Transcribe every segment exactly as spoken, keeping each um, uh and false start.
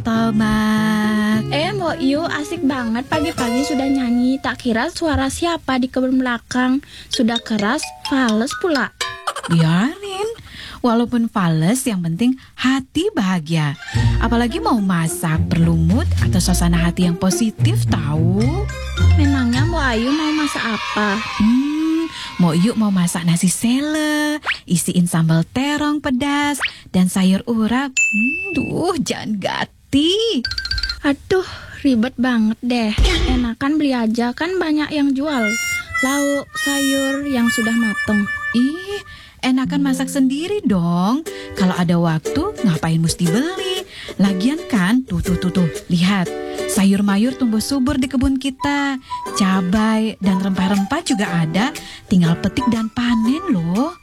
Tomat. Eh, Mbok Yu, asik banget pagi-pagi sudah nyanyi. Tak kira suara siapa di kebun belakang. Sudah keras, fales pula. Biarin. Walaupun fales, yang penting hati bahagia. Apalagi mau masak, perlu mood atau suasana hati yang positif, tahu. Memangnya Mbok Ayu mau masak apa? Hmm, Mbok Yu mau masak nasi sele, isiin sambal terong pedas, dan sayur urap. Hmm, duh, jangan gati. Aduh, ribet banget deh. Enakan beli aja, kan banyak yang jual. Lauk, sayur yang sudah mateng. Ih, enakan masak sendiri dong. Kalau ada waktu, ngapain mesti beli? Lagian kan, tuh, tuh, tuh, tuh, lihat. Sayur mayur tumbuh subur di kebun kita. Cabai dan rempah-rempah juga ada. Tinggal petik dan panen loh.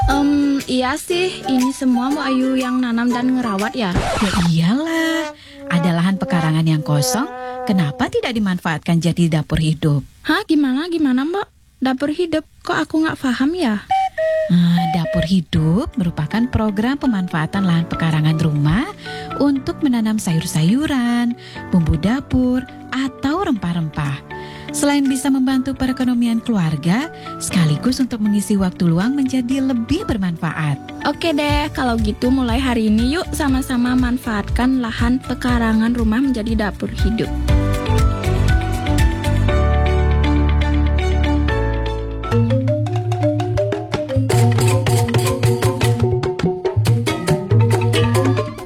Em, iya sih, ini semua Mbok Ayu yang nanam dan ngerawat ya? Ya iyalah, ada lahan pekarangan yang kosong, kenapa tidak dimanfaatkan jadi dapur hidup? Hah, gimana, gimana, Mbok? Dapur hidup, kok aku nggak paham ya? Ah, dapur hidup merupakan program pemanfaatan lahan pekarangan rumah untuk menanam sayur-sayuran, bumbu dapur, atau rempah-rempah. Selain bisa membantu perekonomian keluarga, sekaligus untuk mengisi waktu luang menjadi lebih bermanfaat. Oke deh, kalau gitu mulai hari ini yuk sama-sama manfaatkan lahan pekarangan rumah menjadi dapur hidup.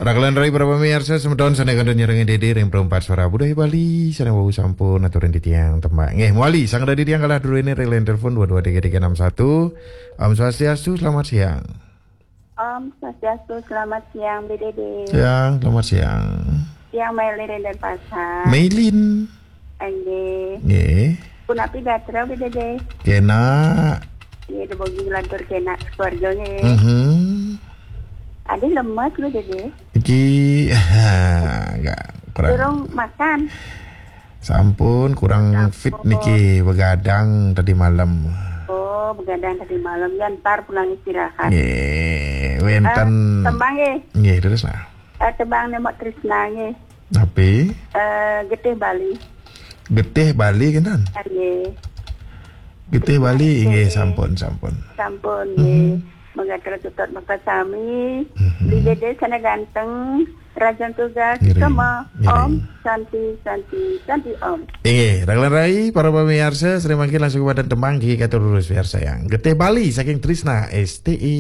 Raglan rai para pemirsa, semeton sané kantun nyerengin dede ring perempat suara budaya Bali, sareng wau sampun aturan titiang tembak. Nggih, mawali, sang dadi tiang kalah dulu ini ring line telepon dua dua tiga tiga enam satu. Om Swastiastu, selamat siang. Om Swastiastu, selamat siang, B D D. Siang, selamat siang. Siang, Mailin dan Pasar. Mailin. Nggih. Nggih. Punapi gatra, B D D? Kena. Nggih, dumogi nglantur kena keluarga nggih. Mhm. Adi lemes, B D D. Iki, enggak, kurang. Durung makan. Sampun, kurang Sampun. Fit niki, begadang tadi malam. Oh, begadang tadi malam, ya ntar pulang istirahat. Nggih, wénten. Eh, tembang nggih. Nggih, terus nah. Eh, tembang Mbok Trisna nggih. Napi? Eh, Getih Bali. Getih Bali kinten? Ah, nggih. Getih Bali, nggih, nggih. Sampun, sampun. Sampun, nggih. Mhm. Mangga terus tutut maka sami. Mhm. Di dede sana ganteng, Rajan Tugas, ngiring, sama ngiring. Om Santi, Santi, Santi Om. Inggih, raglan rai, para pemirsa, sering mangkin langsung kepada tembang gigi katur lurus biar sayang. Getih Bali, saking Trisna, S T I.